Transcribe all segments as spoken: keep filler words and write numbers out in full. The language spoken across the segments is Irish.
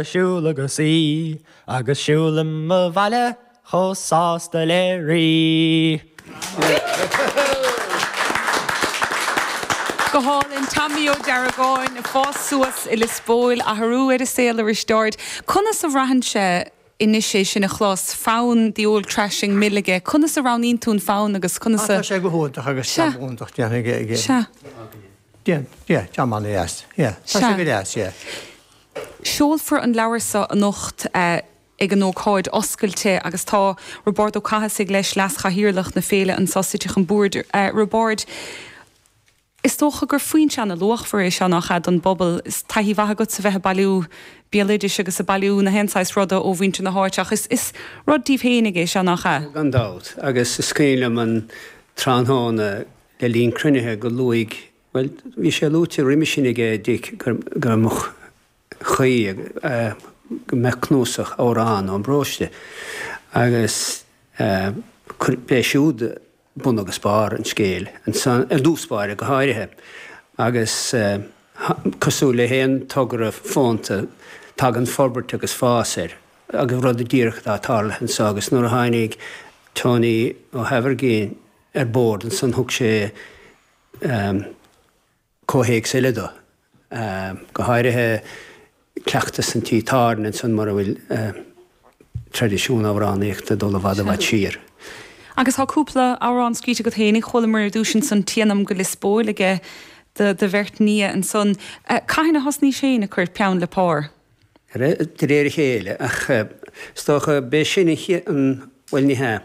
Siúl agus í agus siúlaim abhaile chomh sásta le rí. Go hálainn Tommy Ó Deargáin ag fás suas i Lios Póil athrú ar a saol a Risteaird. Conas a bhraitheann sé anois é sin a chlos fonn The Old Thrashing Mill aige, conas a roghnaíonn tú an fonn agus conas a. Tá sé go hiontach agus Sea. jab iontach déanta aige aige. Sea. Déan, yeah, jab an-deas, yeah. Tá Sea. sé go deas, yeah. Seolfar an leabhar seo anocht ag an ócáid oscailte agus tá Roibeárd Ó Cathasaigh leis, Leas-Chathaoirleach na féile anseo sa Teach an Bhoird. Roibeárd, is dócha gur foinse ana-luachmhar é seo nach ea don bpobal. Is taithí mhaith agatsa bheith ag bailiú béaloidis agus ag bailiú na haon saghas ruda ó mhuintir na háite ach is, is rud díbh féinig é seo nach ea? Gan dabht, agus is cuimhin liom an tráthnóna le linn cruinnithe go luaigh, bhuel, bhí sé luaite roimhe sin aige Dick go mbeadh chaoi go mbeadh cnuasach amhrán ón bparóiste agus b'é siúd bun agus barr an scéil ansan, ar dtús báire go háirithe, agus cosúil le haon togra fónta tagann forbairt agus fás air agus rud díreach atá tarlaithe anso agus nuair a tháinig Tony Ó hAimhirgín ar bord ansan thug sé comhthéacs eile dó, go háirithe cleachtas an tí tábhairne ansan mar a bhfuil traidisiún amhránaíochta ag dul i bhfad i bhfad siar. Agus tá cúpla amhrán scríte agat féinig, chualamar ar dtús ansan Téanam go Lios Póil aige do bheirt nia ansan. Cathain a thosnaís féin ag cur peann le pár? De réir a chéile, ach is dócha b'é sin an chéad, bhuel ní hea,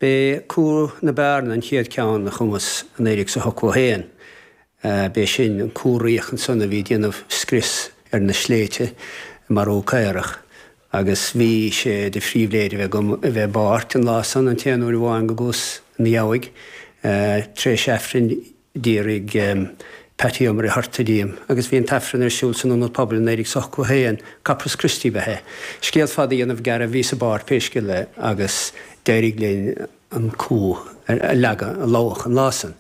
b'é Cú na Bearna an chéad ceann a chumas i naoi déag is a hochtó a haon. B'é sin an cú raoch ansan a bhí ag déanamh scrios ar na sléibhte, ag marú caorach, agus bhí sé de phribhléid a bheith agam a bheith i bpáirt an lá san, an t-aon uair amháin go gcuas ina dheabhaidh. Tar éis Aifrinn d'fhiafraigh Patty Ó Muircheartaigh díom, agus bhí an t-Aifreann ar siúl san Ionad Pobail i naoi déag is ochtó a haon, Corpus Christi ba ea. Scéal fada a dhéanamh gearr, bhíos i bpáirt pé scéal é agus d'éirigh linn an cú a leagadh, a lobhadh an lá san.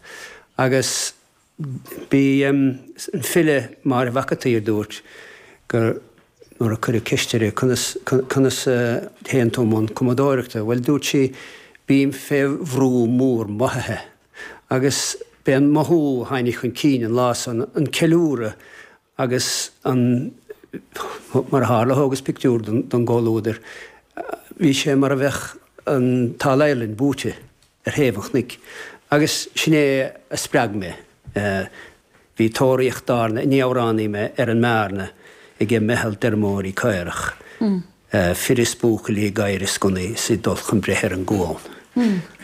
Agus bhí an file Máire Mhac an tSaoir dúirt gur nuair a cuireadh ceist uirthi conas conas a théann tú i mbun cumadóireachta, bhuel dúirt sí bím fé bhrú mór mothaithe. Agus b'é an mothú a tháinig chun cinn an lá san, an ceiliúradh agus an, mar a tharla thógas pictiúr den gcomhluadar, bhí sé mar a bheadh an tAll-Ireland buaite ar thaobh an chnoic. Agus sin é a spreag mé. Bhí tóraíocht d'fhear, ní amhránaí mé, ar an mBearna ag meitheal d'fheirmeoirí caorach. Fir is buachaillí gadhair is gunnaí is ag dul chun breithe ar an gcuan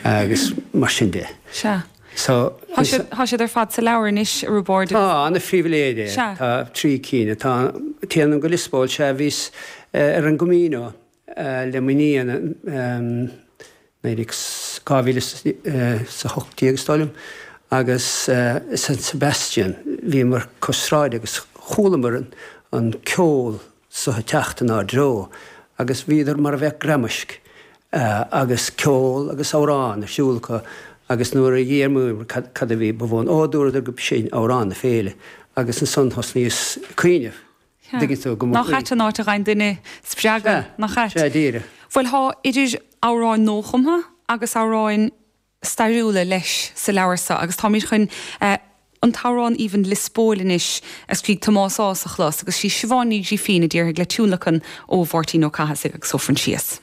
agus mar sin de. Sea. So. Tá siad, tá siad ar fad sa leabhar anois, a Roibeaird. Tá, ana-phribhléid é. Sea. Tá trí cinn. Tá, Téanam go Lios Póil, sea, bhíos ar an gCamino le m'iníon, naoi déag, dhá mhíle is a hocht déag is dóigh liom, agus i San Sebastian bhíomar cois sráide agus chualamar an ceol so ag teacht inár dtreo agus bhíodar mar a bheadh gramaisc agus ceol agus amhrán ar siúl acu agus nuair a d'fhiafraíomar cad a bhí ba bhun, ó dúradar go b'shin amhrán na féile agus ansan thosnaíos ag cuimhneamh, an dtuigeann tú, go mba Nach ait an áit a bhfaigheann duine spreagadh, nach ait? Sea, díreach. Bhuel, thá idir amhráin nuachumtha agus amhráin stairiúla leis sa leabhar seo agus táimid chun an t-amhrán aoibhinn Lios Póil anois a scrígh Tomás Ághas a chlos agus sí Siobhán Ní Ghrífín a déarfaidh le tionlacan ó Mháirtín Ó Cathasaigh agus ó Phroinsias.